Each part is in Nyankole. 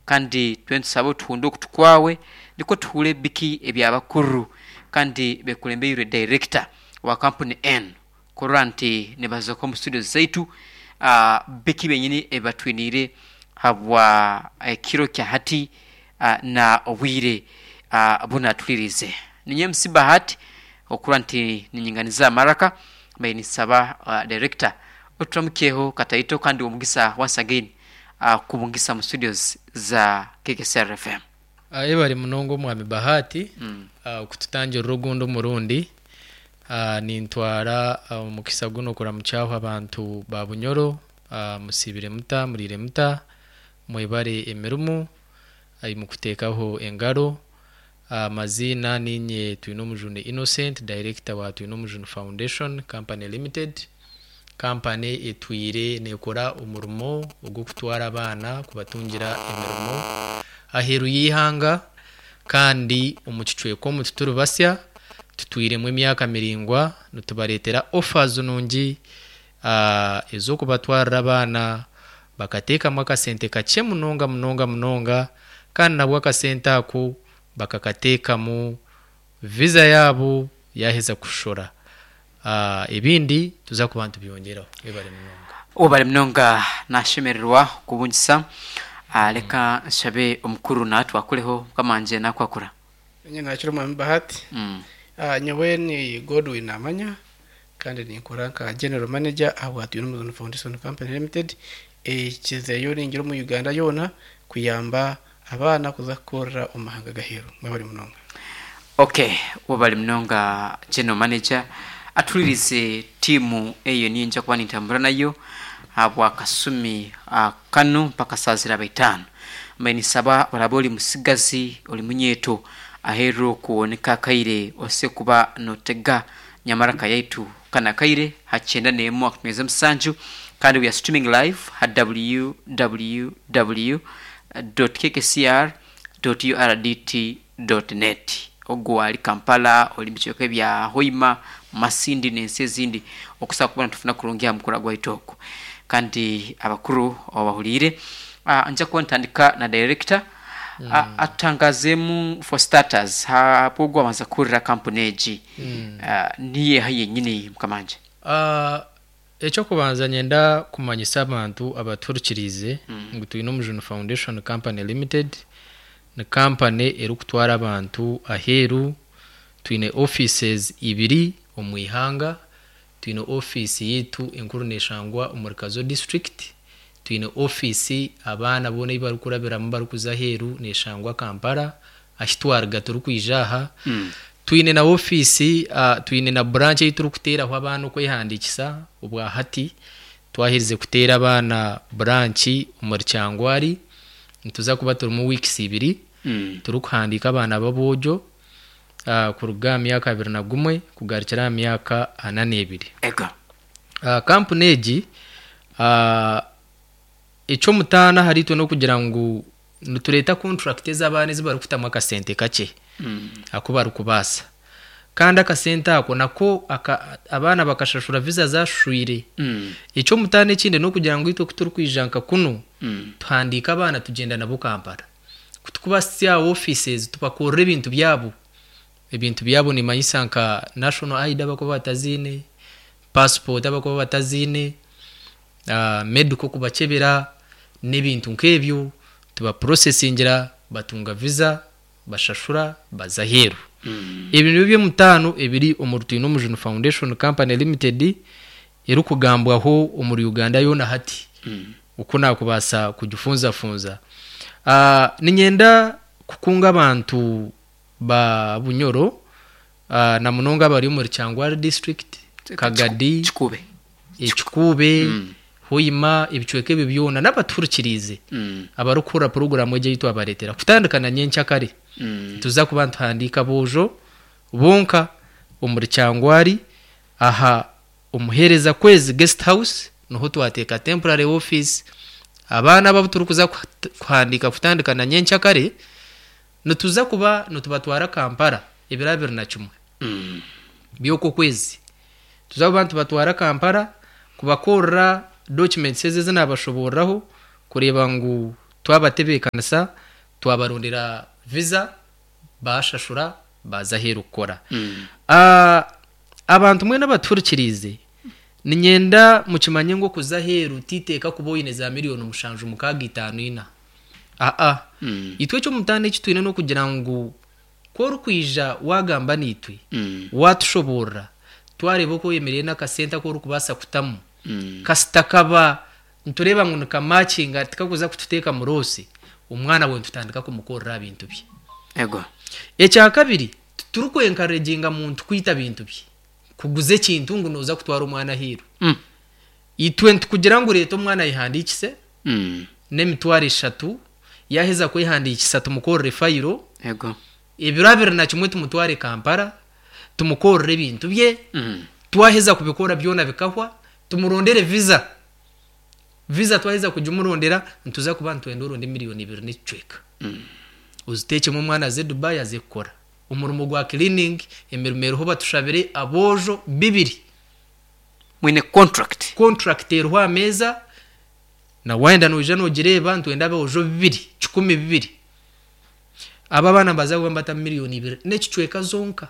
Kandi twena nitusaba otuhunde okutu kwawe nikwo tuhuure biki ebya bakuru kandi bekulembeirwe director wa kampuni enu kurora nti nibazoka omu studios zaitu biki byenyini ebibatwiniire habwa ekiro kya hati na obwire bu natuririize. Ninye MC Bahati okurora nti ninyinganiza amaraka mbaire ninsaba director oturamukyeho kataito kandi omugisa once again kubungisa omu studios za KKCR FM. Yebare munonga omwami Bahati kututangirira ogundi omurundi. Nintwara omukisa gunu okuramukyaho abantu ba Bunyoro. Musiibire muta? Muriire muta? Mwebare emirimo ei mukutekaho engaro. Amaziina niinye Twinomujuni Innocent, Director wa Twinomujuni Foundation Company Limited. Kampani etwire neekora omurimo ogw'okutwara abaana kubatungira emirimo aheeru y'eihanga kandi omu kicweka omu tituri basya, tutwiremu emyaka miraingwa nitubareetera offers nungi ez'okubatwarira abaana bakateekamu akasente kakye munonga munonga munonga kandi nabwo akasente ako bakakateekamu visa yaabo yaaheza kushora. Ebindi tuza kuba nitubyongyeraho. Webare munonga. Webare munonga nashemererwa kubungisa reka nshabe omukuru natwakureho mukama wangye nakwakura. Nanye nakira omwami Bahati. Nyowe ni Godwin Namanya kandi ninkora nka General Manager ahabwa Twinomujuni Foundation Company Limited ekizeyo ningira omu Uganda yoona kuyamba abaana kuza kukorera omu mahanga g'aheeru. Mwebare munonga. Ok webale munonga General Manager atuhuririze tiimu eyo niyo nja kuba nintambura nayo ahabwa kasumi kanu mpaka saaha ziraba itaano. Mbaire ninsaba oraabe ori musigazi ori munyeeto aheeru okwo niko akaire ose kuba notega nyamaraka yaitu kanu akaire ha kyenda n'emwe akutumeza musanju kandi we are streaming live ha www dot kkcr dot urdt dot net. Ogwo ari Kampala, ori mubicweka ebya Hoima, Masindi n'ensi ezindi okusobola kuba nitufuna kurungi aha mukura gwaitu ogu. Kandi abakuru obahuriire. Nja kuba nitandika na director atutangazeemu for starters ahabw'ogu owabanza kuhurira kampuni egi niyo eha yenyini mukama wangye? Eky'okubanza nyenda kumanyisa abantu abatuhurikiriize ngu Twinomujuni Foundation Company Limited ni kampani erikutwara abantu aheeru. Twine offices ibiri omu ihanga, twine ofiisi yaitu enkuru neshangwa omuri Kazo district, twine ofiisi abaana boona ei barikurabiramu barikuza aheeru neshangwa Kampala ahi twaruga turikwija aha. Twine na ofiisi, twine na branch ei turikuteeraho abaana okwehandiikisa obwa hati. Twaherize kuteera abaana branch omuri Kyangwari, nituza kuba turimu weeks ibiri turikuhandiika abaana b'aboojo kuruga aha myaka 21 kugarukira aha myaka 42. Kampuni egi eky'omutaano ahariitwe n'okugira ngu Nitureeta kontrakiti ez'abaana ezi barikutamu akasente kakye aku barikubaasa. Kandi akasente ako nako abaana bakashashura viza zaashushoire. Eky'omutaano ekindi n'okugira ngu itwe ku turikwija nka kunu, tuhandiika abaana tugyenda nabo Kampala. Ku turikubahitsya aha ofiisi ezi tubakorera ebintu byabo. Ebintu byabo nimmanyisa nka national ID abarikuba bataziine, passport abarikuba bataziine, medical kubakyebera n'ebintu nk'ebyo tubapurosesingira batunga visa bashashura baza aheeru. Ebyo nibyo by'omutaano ebiri omuri Twinomujuni Foundation Company Limited erikugambwaho omuri Uganda yoona hati oku naakubaasa kugifunzafunza. Niinyenda kukunga abantu ba Bunyoro na munonga abari omuri Kyangwali district, Kagadi, Ekikuube, Hoima, ebicweka ebyo byona n'abatuhurikiriize abarikuhurira puroguraamu egi ei twabareetera. Kutandika na nyenkyakare, nituza kuba nituhandiika aboojo bonka omuri Kyangwari aha Omuheereza Kwezi Guest House niho twateeka temporary office. Abaana abo abu turikuza kuhandiika kutandika na nyenkyakare, nituza kuba nitubatwara Kampala ebiro 21 by'okwezi. Nituza kuba nitubatwara Kampala kubakorera documents ezi ezi naabashobooreraho kureeba ngu. Twabatebeekanisa, twabarondera visa, baashashura, baaza aheeru kukora. Abantu mwena abatuhurikiriize, niinyenda mukimanye ngu okuza aheeru titeeka kuba oine za miriyoni mushanju, mukaaga, itaano, ina. Aa. Itwe eky'omutaano eki twine n'okugira ngu ku orikwija waagamba naitwe, waatushoboorora, twareeba oku oyemereire n'akasente aku orikubaasa kutamu, kasita kaba nitureeba ngu nikamakinga tikakuza kututeeka mu roosi, omwana we nitutandika kumukorera aha bintu bye. Ego. Ekyakabiri, titurikwenkareginga muntu kwita bintu bye, kuguza ekintu ngu nooza kutwara omwana aheeru. Itwe nitukugira ngu reeta omwana ayehandiikise n'emitwaro eshatu, yaaheza kwehandiikisa tumukorere fayiro, Ego. ebiro 21 tumutware Kampala, tumukorere ebintu bye, twaheza kubikora byona bikahwa, tumurondere visa. Visa twaheza kugimurondera, nituza kuba nitwenda oronde miriyoni ibiri n'ekicweka. Oziteekyemu omwana aze Dubai aze kukora. Omurimo gwa cleaning, emirimo eriho batushabire aboojo bibiri. Mwine contract. Contract eriho aha meeza, na waayenda noija noogireeba, nitwenda aboojo bibiri, kikumi bibiri. Abo abaana nibaza kuba nibatamu miriyoni ibiri n'ekicweka zonka.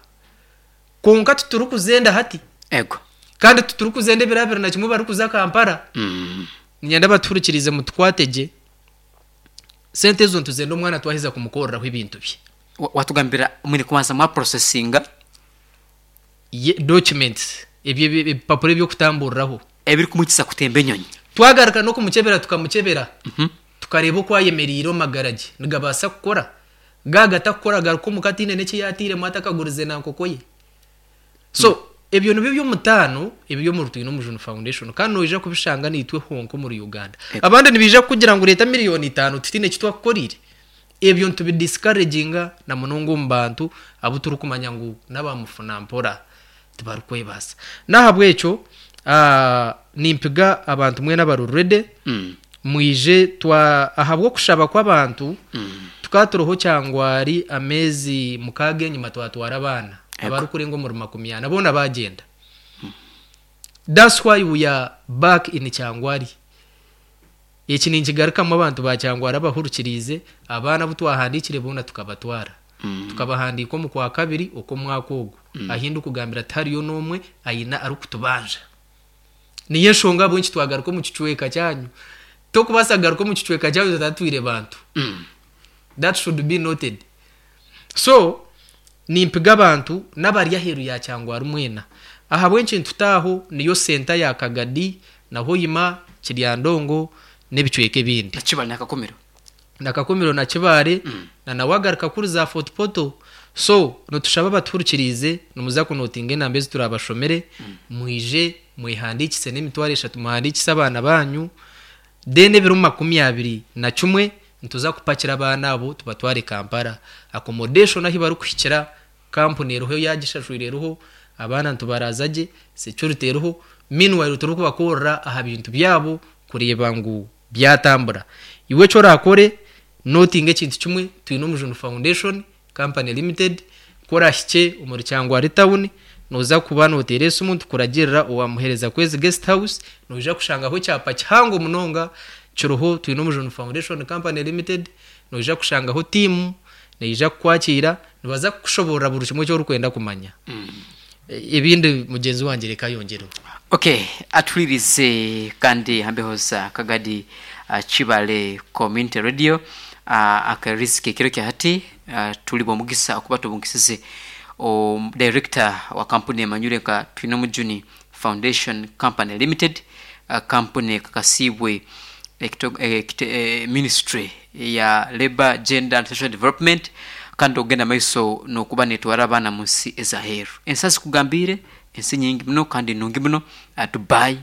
Kwonka titurikuzenda hati. Ego. Kandi titurikuzenda ebiro 21 barikuza Kampala. Niinyenda abatuhurikiriize mutukwate gye. Sente ezo nituzenda omwana twaheza kumukoreraho ebintu bye. Watugambira mwine kubanza mwaprocessinga. Ye documents, ebyo ebipapura eby'okutamburiraho. Ebirikumwikiriza kutemba enyonyi. Twagaruka n'okumukyebera tukamukyebera, tukareeba oku ayemereire omu magara gye, nigabaasa kukora? Gaaba gatakukora garuka omuka ataine n'eki yaatairemu atakagurize na nkoko ye. So ebyo nibyo by'omutaano ebiri omuri Twine Omujuni Foundation kandi noija kubishanga naitwe honka omuri Uganda. Abandi nibaija kukugira ngu reeta miriyoni itaano tutaine eki twakukoreire. Ebyo nitubidiscouraginga na munonga omu bantu abu turikumanya ngu n'aba mufuna mpora tibarikwebaasa. N'ahabw'ekyo nimpiga abantu mwena abari ready mwije twa ahabw'okushaba kw'abantu tukaba turiho kyangwari ameezi mukaaga enyima twatwara abaana abarikurenga omuri 40 boona baagyenda. That's why we are back in Kyangwari. Eki ninkigarukamu abantu ba Kyangwari abahurikiriize, abaana abu twahandiikire boona tukabatwara. Tukabahandiika omu Kwakabiri okw'omwaka ogu. Ahi ndikugambira tihariyo n'omwe aine arikutubanja. Niyo enshonga ahabw'enki twagaruka omu kicweka kyanyu. Tokubaasa kugaruka omu kicweka kyanyu otatwire bantu. That should be noted. So, nimpiga abantu n'abari aheeru ya Kyangwari mwena. Ahabw'enki nitutaaho niyo senta ya Kagadi na Hoima, Kiryandongo n'ebicweka ebindi. Na Kibaale na Kakumiro. Na Kakumiro na Kibaale na na wagaruka kuri za Fort Portal. So, nitushaba abatuhurikiriize nimuza kunotinga enamba ezi turabashomere mwije mwehandiikise n'emitwaro eshatu muhandiikise abaana baanyu. Then ebiro 21 nituza kupakira abaana abo tubatware Kampala. Accommodation ahi barikuhikira kampuni eriho yaagishashwire eriho, abaana nitubaraaza gye, security eriho, meanwhile turikubakorera aha bintu byabo kureeba ngu byatambura. Iwe eki oraakore, notinga ekintu kimwe, Twine Omujuni Foundation Company Limited, ku orahikye omuri Kyangwali town, nooza kuba nooteera esimu nitukuragirira owa Muhereza Kwezi Guest House, noija kushangaho ekyapa kihango munonga kiriho Twine Omujuni Foundation Company Limited, noija kushangaho tiimu neija kukwakiira, nibaza kukushoboorora buri kimwe eki orikwenda kumanya. Ebindi mugyenzi wangye reka ayongyereho. Ok, atuhuririze kandi aha mbeho za Kagadi Kibale Community Radio akariziki ekiro kya hati turi b'omugisa okuba tubungisize Director wa kampuni emanyirwe nka Twinomujuni Foundation Company Limited, kampuni ekakasiibwe Ministry ya Labour, Gender and Social Development kandi okugenda maiso n'okuba netwara abaana mu nsi ez'aheeru. Ensi azikugambiire, ensi nyingi muno kandi nungi muno, Dubai,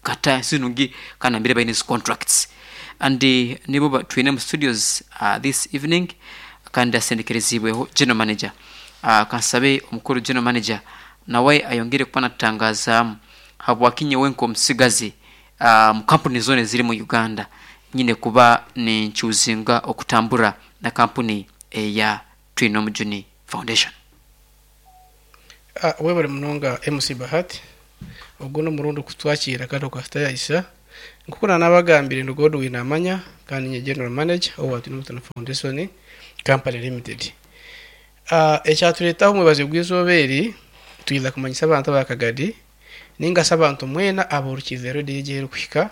Qatar, ensi nungi kandi nambere baine ezi contracts. And nibo twine omu studios this evening kandi asendekereziibweho General Manager. Kansabe omukuru General Manager nawe ayongere kuba natutangazaamu habwaki nyowe nk'omutsigazi Omu kampuni zoona eziri mu Uganda, nyine kuba nincuuzinga okutambura na kampuni eya Twinomujuni Foundation. Webale munonga MC Bahati. Ogu n'omurundi kutwakiira kandi okatutayayisa. Nk'oku naanabagambire ndi Godwin Amanya kandi ninye General Manager owa Twinomutano Foundation Company Limited. Ekyaturetaho omwebazyo gw'eizooba eri, twija kumanyisa abantu aba Kagadi ninga shi abantu mwena abahurukiize rediyo egi ahu erikuhika,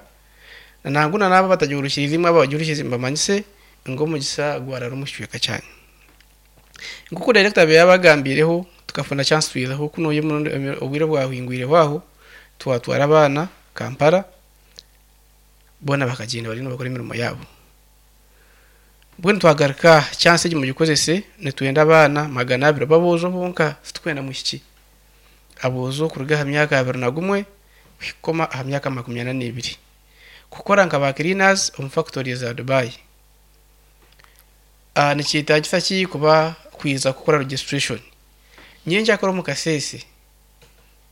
nangwa na n'abo abatagihurukiize imwe abagihurikiize mbamanyise ngu omugisa gwarara omu kicweka kyanyu. Nk'oku dayirekita abaire yabagambiireho, tukafuna chance twizaho kunuya obwire obwahingwireho aho, twatwara abaana Kampala, boona bakagyenda bariyo nibakora emirimo yaabo. Mbwenu twagaruka chance egi mugikozese, nitwenda abaana 200 b'aboojo bonka, titurikwenda mwishiki. Aboojo kuruga aha myaka 21 kuhika aha myaka 42 kukora nka ba cleaners omu factory za Dubai. Nikyetagisa ki kuba kwiza kukora registration? Nyenkyakare omu kasheeshe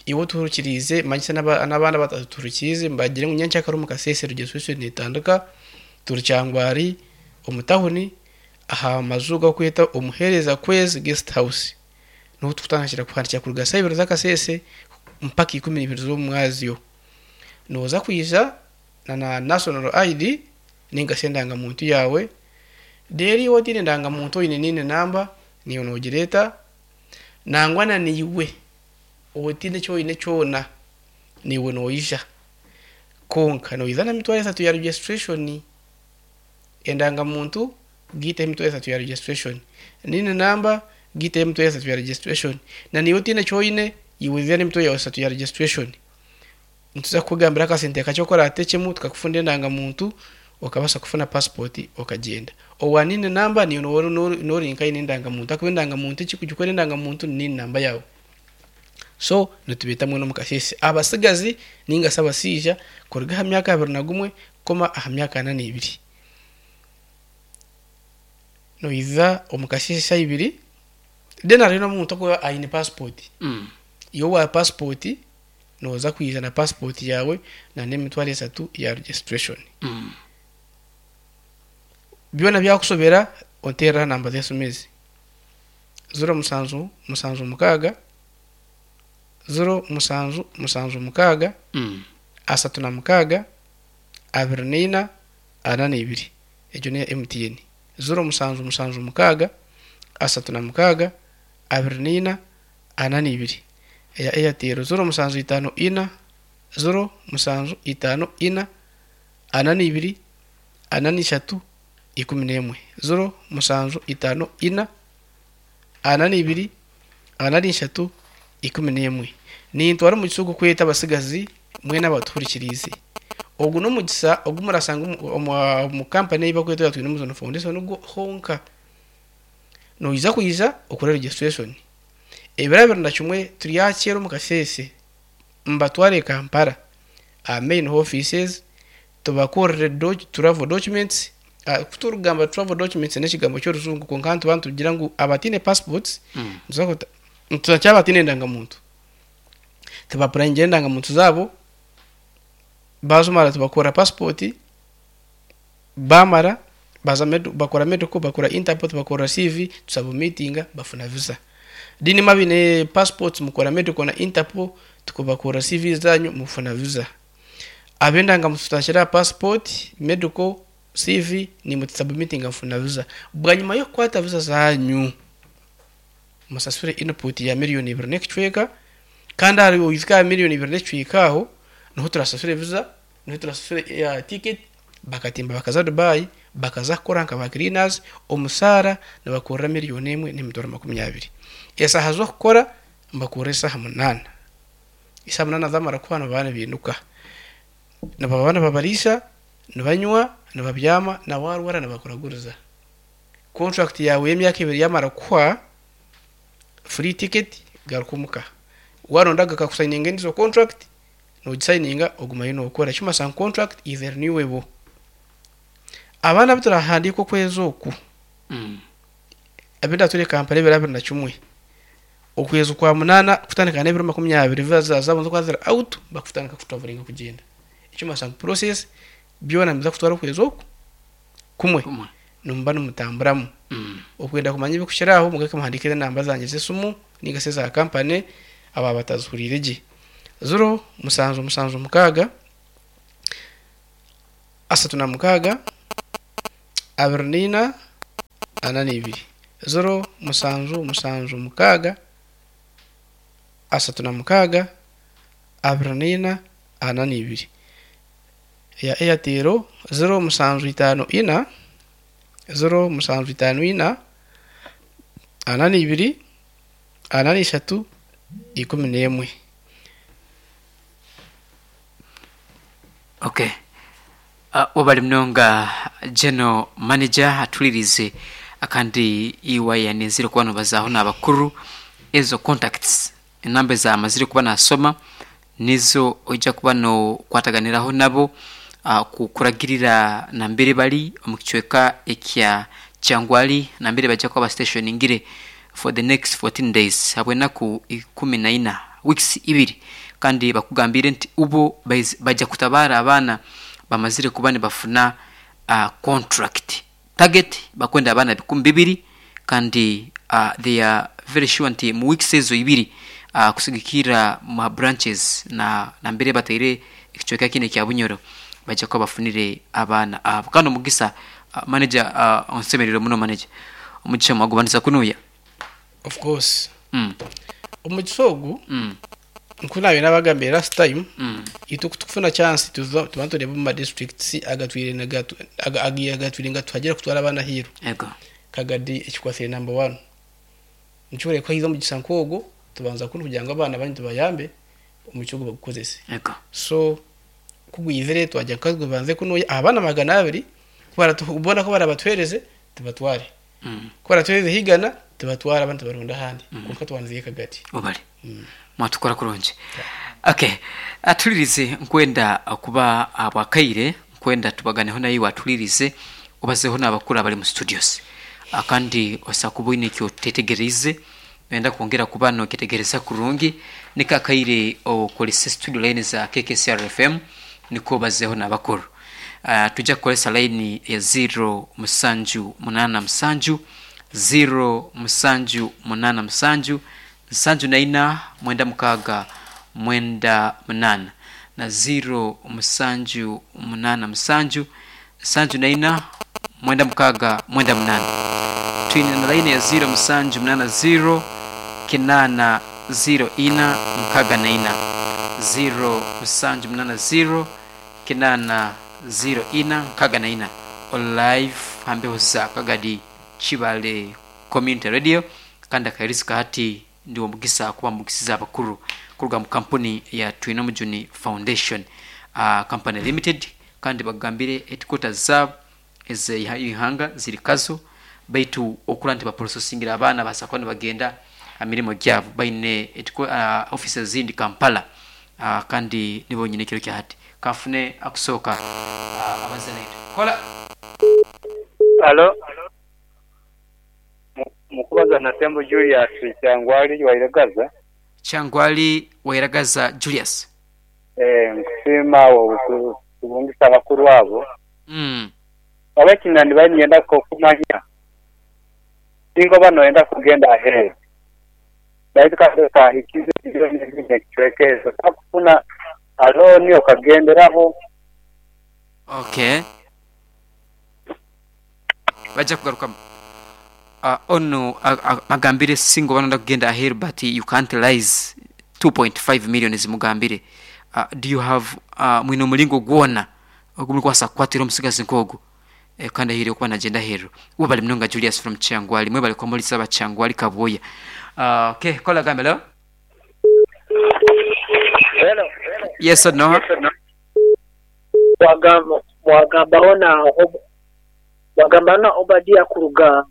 iwe otuhurikiriize manyisa n'abandi abatatuhurikiize mbagire ngu nyenkyakare omu kasheeshe registration netandika turi Kyangwari omu tawuni aha maju agarikwetwa Omuheereza Kwezi Guest House. Niho turikutandikira kuhandiikira kuruga shaaha ibiri z'akasheeshe mpaka 12 z'omumwazyo. Nooza kwija na national ID ninga shi endangamuntu yaawe, reero iwe otaine ndangamuntu oine NIN namba naiwe noogireeta, nangwa na naiwe otaine eki oine kyona naiwe noija. Kwonka noija n'emitwaro eshatu ya registration, endangamuntu giiteho emitwaro eshatu ya registration, NIN namba giiteho emitwaro eshatu ya registration, na naiwe otaine eki oine iwe ija n'emitwaro yaawe eshatu ya registration. Nituza kukugambira akasente kakye oku oraatekyemu tukakufundira endangamuntu okabaasa kufuna passport okagyenda. Owa NIN namba naiwe nooba ori nk'aine endangamuntu ahakuba endangamuntu ekirikugikora endangamuntu ni NIN namba yaawe. So nitubeeta mbwenu omu kasheeshe abatsigazi ninga shi abashaija kuruga aha myaka 21 kukoma aha myaka 42. Noija omu kasheeshe shaaha ibiri then hariho n'omuntu orikuba aine passport. Iwe owa passport nooza kwija na passport yaawe n'emitwaro eshatu ya registration. Byona byakushobera onteerere aha namba z'esimu ezi, 07 76 07 76 36 24 42. Egyo n'eya MTN. 07 76 36 24 42. Eya Airtel 07 54 07 54 42 43 11. 07 54 42 43 11. Nintwara omugisa ogu kweta abatsigazi mwena abatuhurikiriize. Ogu n'omugisa ogu murashanga omu kampani ei barikweta eya Twinomujuni Foundation honka. Noija kwija okore registration. Ebiro 21 turyakyera omu kasheeshe mbatware Kampala aha main offices tubakorere travel documents. Ku turikugamba travel documents n'ekigambo ky'orujungu kwonka nituba nitugira ngu abataine passports nitugira abataine endangamuntu tubapurayingire endangamuntu zaabo baazimara tubakora passport bamara baza bakora medical bakora interpol bakora CV tusabumitinga bafuna visa. Then imwe abaine passports mukora medical na interpol tukubakora CV zanyu mufuna visa. Ab'endangamuntu tutakira passport, medical, CV nimwe tusabumitinga mufuna visa. Bwanyima y'okukwata visa zanyu musasure input ya miliyoni 2 n'ekicweka kandi ahari oijuke aha miliyoni 2 n'ekicweka aho niho turasasure visa, niho turasasure ya ticket bakatimba bakaza Dubai bakaza kukora nka ba cleaners omusaara nibakurira miliyoni 1 n'emitwaro 20. Esaaha z'okukora nibakurira esaaha 8. Esaaha 8 zamara kuhwa nibaba nibiinuka. Nibaba nibabariisa, nibanywa, nibabyama na waarwara nibakuraguriza. Contract yaawe y'emyaka ebiri yamara kuhwa free ticket garuka omuka. Waronda bakakusayininga endiijo contract nogisayininga ogumayo nookora. Ekirikumanyisa ngu contract is renewable. Abaana abu turahandiika okwezi oku, abu ndature Kampala ebiro 21, okwezi kwa munaana kutandika n'ebiro 20 visa zaabo nizikuba ziri out bakutandika kutravelinga kugyenda. Ekirikumanyisa ngu process byona nibiza kutwara okwezi oku kumwe nimuba nimutamburamu. Okwenda kumanya ebirikukira aho mugaruke muhandiike enamba zangye z'esimu ninga shi eza kampani aba batazihuriire gye. 07 76 36, 24, 42. 0 7 7 6 36, 24, 42. Eya Airtel 0 7 5 4, 0 7 5 4, 42, 43, 11. Okay. Webale munonga General Manager atulirize akandi iwe yanenzire kuba nobazaaho n'abakuru ezo contacts enamba ezamazire kuba nasoma nizo oija kuba nokwataganiraho nabo kukuragirira nambere bari omu kicweka ekya Kyangwali nambere baija kuba bastationingire for the next 14 days habw'enaku 14, weeks ibiri, kandi bakugambiire nti ubo baija kutabaara abaana bamazire kuba nibafuna contract. Target bakwenda abaana 2000 kandi they are very sure nti mu weeks ezo ibiri kusigikirra mu branches na nambere bataire ekicweka kinu ekya Bunyoro baija kuba bafunire abaana abo. Kandi omugisa manager onsemereirwe muno manager. Omugisha mwagubaniza kunuya. Of course. Omugisa ogu nku naabaire naabagambire last time, itwe ku tukufuna chance tuza tuba nitureeba omu ma districts agatwire nigatu agatwire nigatuhagira kutwara abaana aheeru. Kagadi ekikwatsire number one. Nikyo oreba ku haija omugisa nk'ogwo tubanza kunu kugira ngu abaana banyu tubayambe omugisa ogwo bagukozese. So ku gwizire twagira ngu katugubanze kunuya abaana 200 ku boona ku barabatuheereze tubatware. Ku baratuheereza eigana tubatware abandi tubaronde ahandi kwonka twanziire kagati. Webale. Mwatukora kurungi. Okay. Atulirize nkwenda kuba ahabw'akaire nkwenda tubaganeho naiwe atulirize obazeho n'abakuru abari mu studios. Kandi osobola kuba oine eki otetegeriize noyenda kwongera kuba nokyetegereza kurungi niko akaire okorese studio line za KKCR FM nikwo obazeho n'abakuru. Twija kukoresa line ya ziiro musanju munaana musanju, ziiro musanju munaana musanju, nsanju na ina mwenda mukaaga mwenda munaana na ziiro musanju munaana musanju, nsanju na ina mwenda mukaaga mwenda munaana. Twine na line ya ziiro musanju munaana ziiro, kinaana ziiro ina 64, ziiro musanju munaana ziiro, kinaana ziiro ina 64. Oli live ha mbeho za Kagadi Kibale Community Radio kandi akairizi ka hati ndi w'omugisa kuba mugisize abakuru kuruga mu kampuni ya Twinomujuni Foundation Company Limited kandi bakugambire headquarters zaabo ez'eihanga ziri Kazo baitu okura nti baprocessingira abaana babaasa kuba nibagenda aha mirimo gyabo baine offices ezindi Kampala kandi nibo nyine ekiro kya hati. Kanfune akusooka abaze naitwe. Kola. Halo. Mukubaza na Tembo Julius Kyangwali Wairagaza. Kyangwali Wairagaza Julius. Eeh nkusiima okutubungisa abakuru abo. Oba ekinandibaire niinyenda okumanya, singa oba noyenda kugenda aheeru baitu kandi otahikize milioni ibiri n'ekicweka ezo, osobola kufuna alooni okagenderaho. Okay. Baija kugarukamu. Onu agambire singa oba noyenda kugenda aheeru but you can't lies 2.5 million zimugambire. Do you have mwine omuringo gwona ogu murikubaasa kukwatira omutsigazi nk'ogu kandi ahaire kuba nagyenda aheeru? Webale munonga Julius from Kyangwali. Mwebale kuba muri aba Kyangwali Kabwoya. Okay, caller agambe hello. Hello. Yes or no? Wagamba wagambaho na wagambaho na Obadia kuruga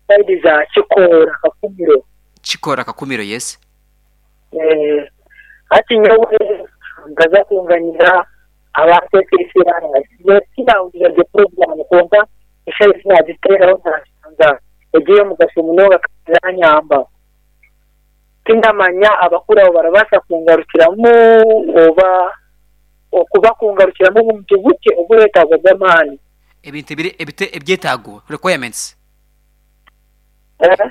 saidi za Kikoora Kakumiro. Kikoora Kakumiro yes. Eh, hati nyowe nkaza kunganyira aba KKCR nyowe tinahurira gye program kwonka eshaaha ezi nagiteeraho nashanga eri ey'omugasho munonga kandi eranyamba. Tindamanya abakuru abo barabaasa kungarukiramu oba okuba kungarukiramu obuntu bukye obureetaaga bw'amaani. Ebintu ebiri ebite ebyetaago, requirements. Eh?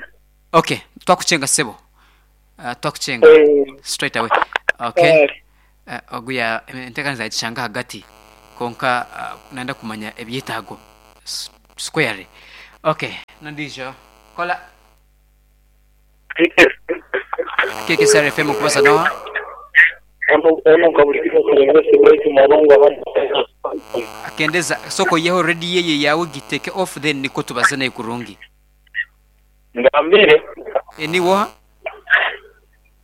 Ok, twakucenga ssebo. Twakucenga Eh. straight away. Ok. Kale. Ogu ya enteekaniza yagishanga ahagati. Kwonka nayenda kumanya ebyetaago squarely. Okay, n'ondiijo kola. KKSR FM okubaza noha? Akendeza soka oiyeho radio eyo yaawe giteke off then nikwo tubaze naye kurungi. Ngambire. Niiwe oha?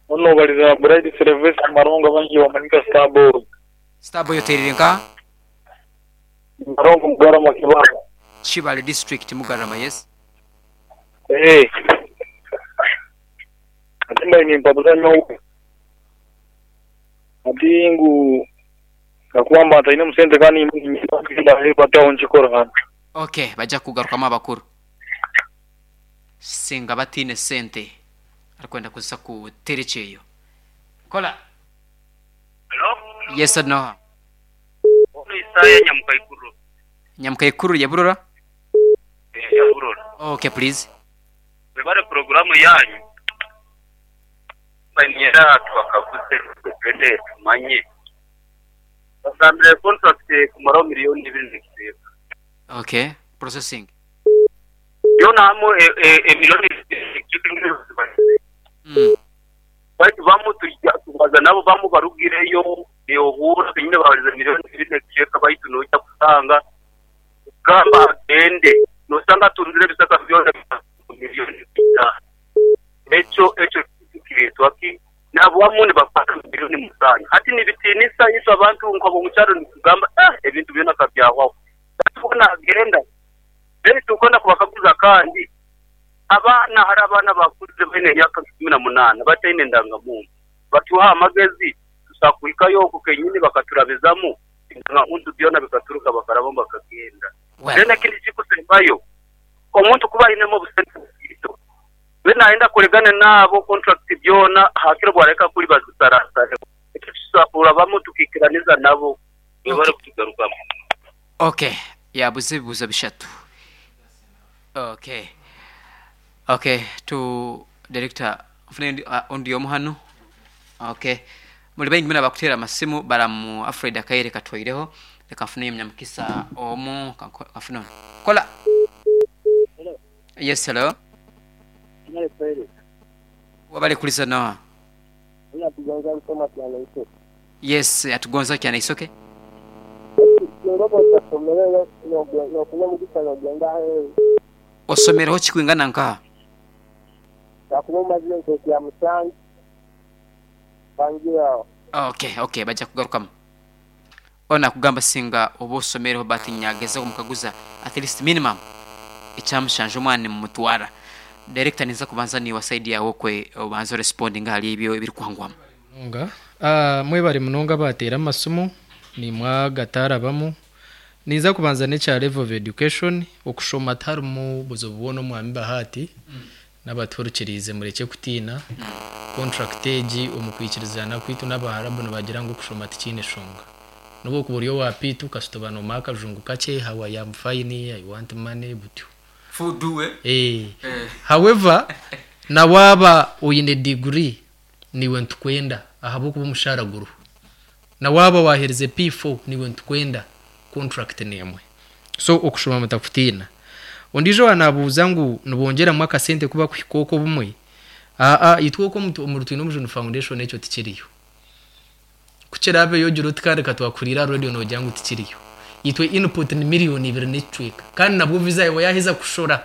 Onu obaliza Bright Sylvester Malongo abangi bamanyi nka Star Boy. Star Boy otereire nkaha? Malongo Mugarama Kibale. Kibale district Mugarama yes. Eeh. Ati mbaire nimpabuza nyowe. Ati ngu kakuba mba ntainemu sente kandi nimba aho nkikora. Ok baija kugarukamu abakuru. Singa bataine sente arikwenda kuza kuteera ekyeyo. Kola. Hello? Yes Noah. Onu Isaya Nyamukaikuru. Nyamukaikuru ya Burora? Eh, ya Burora. Ok please. Mwebare puroguramu yanyu. Niinyenda tubakaguze twende tumanye. Bagambire contract kumaraho miriyoni ibiri n'ekicweka. Ok, processing. Yoona hamwe emiliyoni ibiri n'ekicweka endiijo Baitu bamwe twija tubaza nabo bamwe barugireyo niyohuura benyine babarize miriyoni ibiri n'ekicweka baitu noija kusanga kugamba agende nosanga atunzire ebisaka byona miriyoni itaano. Ekyo ekyo nikireetwa ki? Nabamwe nibakwata miriyoni musanju. Hati nibitiinisa itwe abantu nk'ab'omukyaro nitugamba eh ebintu byona kabyahwaho. Baitu hoona agenda then tukwenda kubakaguza kandi Abaana, Hariho abaana abakuzire baine emyaka nka 18 bataine ndangamuntu. Batuha amagezi tusobola kuhikayo okwo kenyini bakaturabizamu endangamuntu byona bikaturuka bakarabamu bakagenda. Then ekindi ekirikusembayo, omuntu kuba ainemu obusente butaito, then nayenda akoregane naabo contract byona hakiri obwareka kuri bazisarasareho. Ekyo tusobola kurabamu tukaikiraniza nabo Webale kutugarukamu. Ok yabuza ebibuzo bishatu. Ok ok tu director nfune ondi omu hanu. Ok muri baingi muno abakuteera amasimu baramu afraid akaire katwaireho reka nfuneyo omunyamukisa omu kanfune onu. Kola. Yes hello. Webale kuriza noha? Yes atugonza Kyanaisoke. Osomereho ki kwingana nkaha? Ok ok baija kugarukamu. Onu akugamba singa oba osomereho but nyagezaho kumukaguza at least minimum ekya mushanju omwana nimumutwara. Director ninza kubanza niiwe side yaawe okwe obanze orespondinge ahari ebyo ebirikwangwamu. Munonga. Mwebare munonga abateera amasimu, naimwe agatarabamu. Ninza kubanza n'ekya level of education, okushoma tiharimu buzibu bwona Omwami Bahati n'abatuhurikiriize murekye kutiina. Contract egi omu kwikirizana kwaitu n'Abaharabu nibagira ngu okushoma tikiine shonga. N'obu okuba ori owa P2 kasita oba noomanya akajungu kakye, how I am fine, I want money, butyo. Eeh. However, na waaba oine degree, Naiwe nitukwenda ahabw'okuba omushaara guriho. Na waaba waaherize P4 naiwe nitukwenda, contract n'emwe. So okushoma mutakutiina. Ondiijo owa naabuuza ngu nibongyeramu akasente ku bakuhika okwo obumwe, aa itwe okwo omuri Twinomujuni Foundation ekyo tikiriyo. Ku kiraabeyo ogire oti kandi ka twakuhuriire aha radio noogira ngu tikiriyo. Itwe input ni miriyoni ibiri n'ekicweka kandi nabwo visa yaawe yaaheza kushora.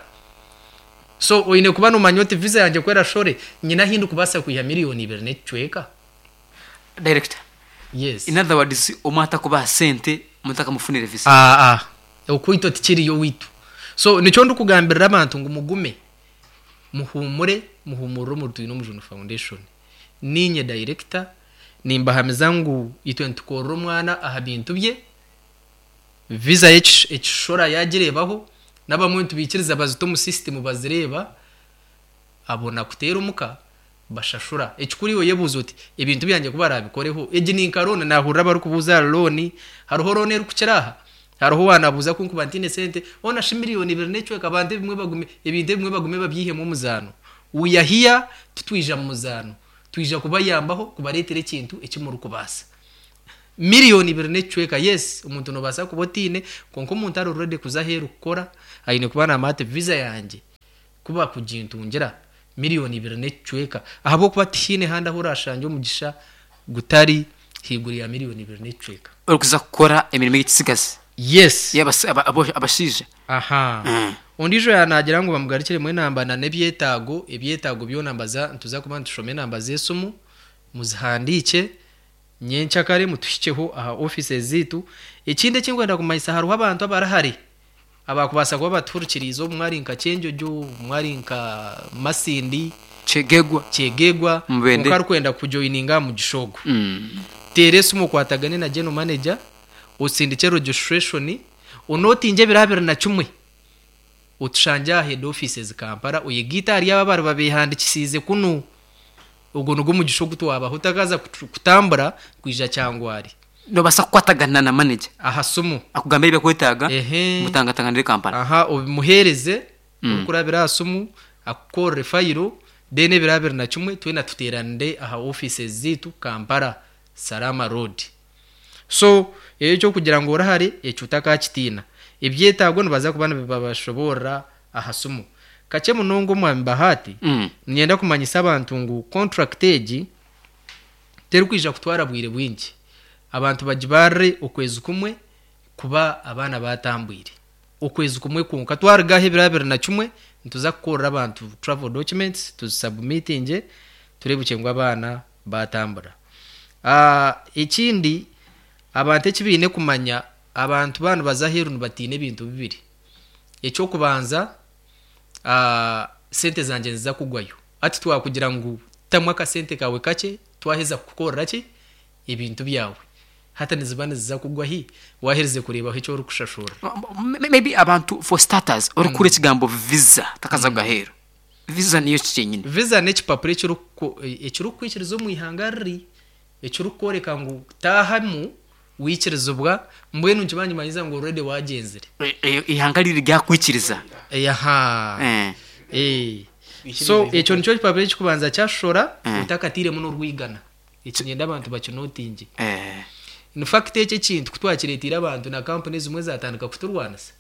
So oine kuba noomanya oti visa yangye ku erashore nyine ahu ndikubaasa kwiha miriyoni ibiri n'ekicweka. Director, Yes. in other words omwe atakubaha sente mutakamufunire visa? Aa, okwitwa tikiriyo owaitu. So nikyo ndikugambirira abantu ngu mugume, muhuumure, muhuumurire omuri Twinomujuni Foundation. Niinye dayirekita, nimbahamiza ngu itwe nitukorera omwana aha bintu bye, visa ye ekishora yaagireebaho, n'abamwe nitubaikiriza bazita omu sisitimu bazireeba, abona kuteera omuka bashashura. Ekikuru iwe oyebuuze oti, ebintu byangye ku baraabikoreho, egi ni nka looni, naahurira abarikubuuza ahari looni, hariho looni erikukira aha? Hariho owaanabuuza ku nkuba ntaine sente, hoona shi miriyoni ibiri n'ekicweka abantu ebimwe bagume, ebintu ebimwe bagume babyihemu omuzaano. We are here, titwija mu muzaano. Twija kubayambaho kubareetera ekintu eki murikubaasa. 2.25 million. Yes, omuntu nobaasa kuba otiine, kwonka omuntu ari ready kuza aheeru kukora aine kuba namanya ati visa yangye kuba kugintungira 2.25 million, ahabw'okuba tihaine handi ahu orashangye omugisha gutari haiguru ya 2.25 million. Orikuza kukora emirimo y'ekisigazi. Yes. Abashaija. Aha. Ondiijo yanagira ngu bamugarukiremu enamba na n'ebyetaago, ebyetaago byona mbaza nituza kuba nitushoma enamba z'esimu, muzihandiike, nyenkyakare mutuhikyeho aha offices zaitu. Ekindi ekinkwenda kumanyisa, hariho abantu abarahare abakubaasa kuba batuhurikiriize, obumwe ari nka Kyenjojo, obumwe ari nka Masindi, Kyegegwa, Kyegegwa, Mubende. Kwonka arikwenda kujoininga aha mugisha ogu, teera esimu okwatagane na general manager, osindike registration, onotinge ebiro 21, otushangye aha head offices Kampala, oyegaite ahari abo abari babehandikisiize kunu. Ogwo nigwo mugisha ogu twabaha, otakaza kutambura kwija Kyangwari. Nobaasa kukwatagana na manager aha simu, akugambira ebyakwetaaga, mutangatanganire Kampala. Aha, obimuheereze orikurabira aha simu, akukorere fayiro, then ebiro 21 twena tuteeranire aha offices zaitu Kampala, Salama Road. So ekyo kugira ngu orahare, ekyo otakakitiina. Ebyetaago nibaza kuba nibabashoboorora aha simu. Kakye munonga, omwami Bahati, niinyenda kumanyisa abantu ngu contract egi terikwija kutwara bwire bwingi. Abantu bagibarire okwezi kumwe kuba abaana batambwire, okwezi kumwe kwonka. Twarugaho ebiro 21, nituza kukorera abantu travel documents, tuzisubmitinge, tureebukye ngu abaana batambura. Ekindi abantu eki baine kumanya, abantu baaba nibaza aheeru nibatiina ebintu bibiri. Ekyokubanza, sente zangye niziza kugwayo. Hati twakugira ngu tamu akasente kawe kakye, twaheza kukukorera ki ebintu byawe, hati niziba niziza kugwa hi waherize kureebaho eki orikushashura? Maybe abantu, for starters, orikukura ekigambo visa takaza kugaheeru, visa niyo ki kyenyini? Visa n'ekipapuro ekirikukwikiriza omu ihanga riri, ekirikworeka ngu taahamu wikirizibwa. Mbwenu nikiba nikimanyiza ngu already wagyenzire. Ihanga riri ryakwikiriza. Aha. So ekyo nikyo kipapuro ekikubanza kyashora, otakatiiremu n'orwigana. Eki nyenda abantu bakinotinge. In fact, ekyo ekintu kutwakireetiire abantu, na kampuni ezimwe zatandika kuturwanisa,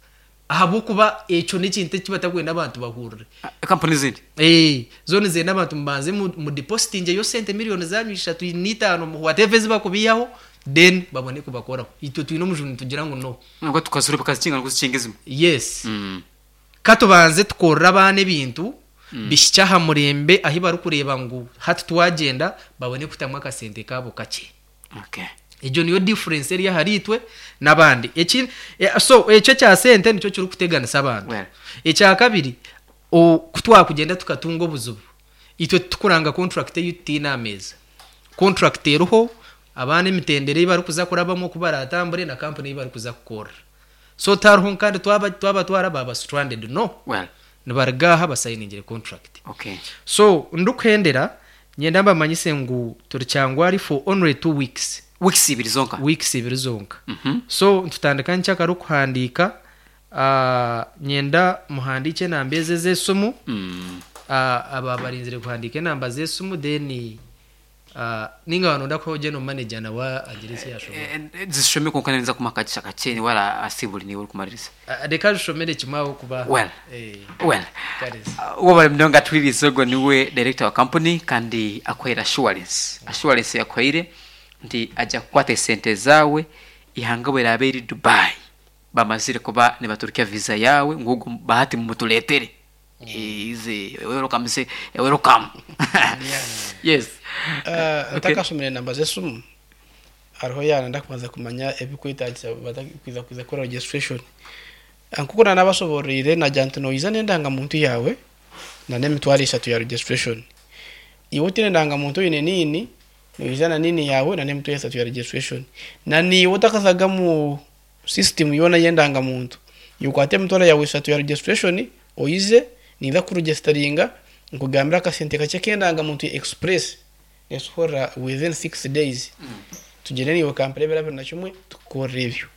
ahabw'okuba ekyo n'ekintu eki batakwenda abantu bahurire. Kampuni ezindi. Zo nizenda abantu mubanze mudepositingeyo sente miliyoni zanyu 3 na 5, whatever ezi bakubihaho, then babone kubakoraho. Itwe twine omujuni, tugira ngu no. Nabwo tukazura bakazikinga nikuzikinga ezimwe. Yes. Katubanze tukorere abaana ebintu bihikye aha murembe, ahi barikureeba ngu hati twagyenda, babone kutamu akasente kaabo kakye. Egyo niyo difference eri ahari itwe n'abandi. So ekyo ekya sente nikyo kirikuteganisa abantu. Well. Ekya kabiri, ku twakugenda tukatunga obuzibu, itwe tukuranga contract eyi tutiine aha meeza. Contract eriho abaana, emitendera ei barikuza kurabamu, oku baratambure, na kampuni ei barikuza kukorera. So tariho kandi twaba twaraba stranded, no. Well. Nibaruga aha basayiningire contract. So ndikuhendera, nyenda mbamanyise ngu turi Kyangwari for only 2 weeks. Weeks 2 zonka. Weeks 2 zonka. So ntutandika nkyakare okuhandiika. Nyenda muhandiike enamba ezi ez'esimu. Aba barinzire kuhandiika enamba z'esimu, then ninga wanonda kuhaho general manager nawe agire eki yashobora. Zishome, konka nza kumuha akagisha kakye, niwe asiburi, niwe orikumaririza. Reka zishomere kimwe aho kuba. Well. Well. Kariza. Wabari munonga atwirize, ogwo niwe director wa company, kandi akuhaire assurance yakuhaire nti ajja kukwata esente zawe ihanga bweraba eri Dubai, bamazire kuba nibaturukya visa yawe, ngugu Bahati mumutuletere ize welcome, say welcome, yes. Ntakashomere enamba z'esimu, hariho yaana ndakubanza kumanya ebikwetagisa kwiza kukora registration. Nkuko nanabasobororire, nagira nti noyiza n'endangamuntu yawe na n'30,000 ya registration. Iwe otiine endangamuntu, oyine NIN, noyiza na NIN yawe na n'30,000 ya registration. Na niiwe otakazaga mu system yoona y'endangamuntu, yokwata emitwaro yawe 3 ya registration, oyize ninza kuregisteringa, nkugambira akasente kakye k'endangamuntu ya express, netukorera within 6 days. Tugende niiwe Kampala ebiro 21, tukukorera ebyo.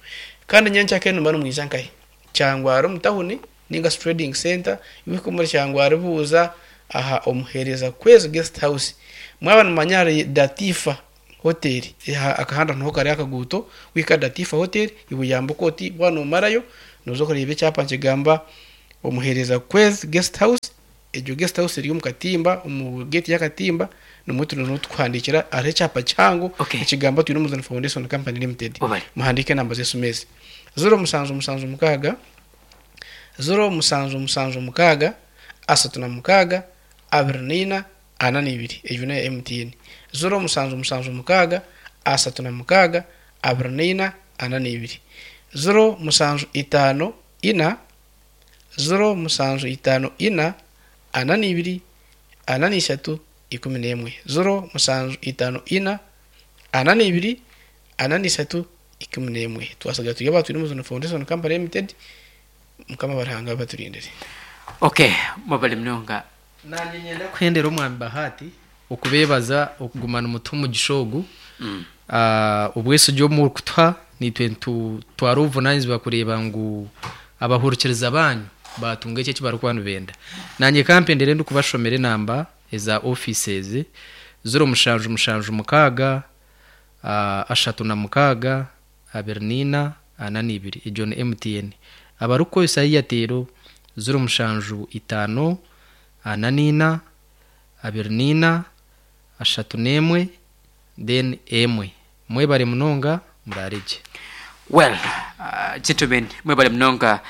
Kandi nyenkyakare nimba nimwija nkahe? Kyangwari omu tawuni ninga trading center. Iwe muri Kyangwari, buuza aha Omuhereza Kwezi Guest House. Mwaba nimumanya hari Datifa. Hotel akahanda niho kari akaguuto wahika aha Datifa Hotel iwe yambuka oti waaba nomarayo noza kureeba ekyapa nikigamba Omuheereza Kwezi Guest House egyo guest house eri omu katimba omu gate y'akatimba nimwo turi niho tukuhandiikira hariho ekyapa kihango Okay. nikigamba Twinomuzani Foundation Company Limited Webale. muhandiike enamba z'esimu ezi 0776 0776 36 24 42 egyo n'eya MTN 0776 36 24 42 0754 0754 42 43 11 0754 42 43 11 Twasiga turi aba Twinomuzuni Foundation Company Limited Mukama aba Ruhanga abaturindire. Okay, mwebale munonga. Nanye nyenda kuhendera omwami Bahati okubebaza okuguma nimutuha omugisha ogu. Obwesigye obu murikutuha naitwe nitutwara obuvunanizibwa kureeba ngu abahurikiriza banyu batunga ekyo eki barikuba nibenda. Nanye kampendere ndikubashomera enamba eza ofiisi ezi, ziro mushanju mushanju mukaaga, 36, 24, 42. Egyo ni MTN. Abarikukozesa Airtel, ziro mushanju itaano, 44, 24, 31, then emwe. Mwebare munonga, muraare gye. Well, gentlemen, mwebale munonga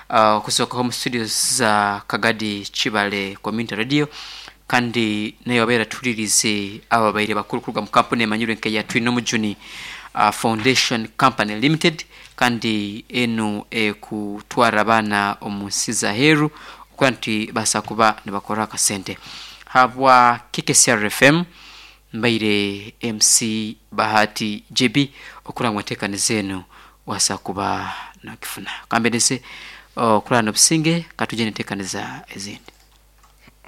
okuzookaho omu studios za Kagadi Kibale Community Radio kandi nayo abaire atuhuririize aba babaire bakuru kuruga mu kampuni emanyirwe nka eya Twinomujuni Foundation Company Limited kandi enu ekutwara abaana omu nsi z'aheeru okuba nti baasa kuba nibakora akasente. Habwa KKCR FM Mbaire MC Bahati JB okuraba ngu enteekaniza enu waasa kuba nogifuna. Kambendeze okurara n'obusinge katwije n'enteekaniza ezindi.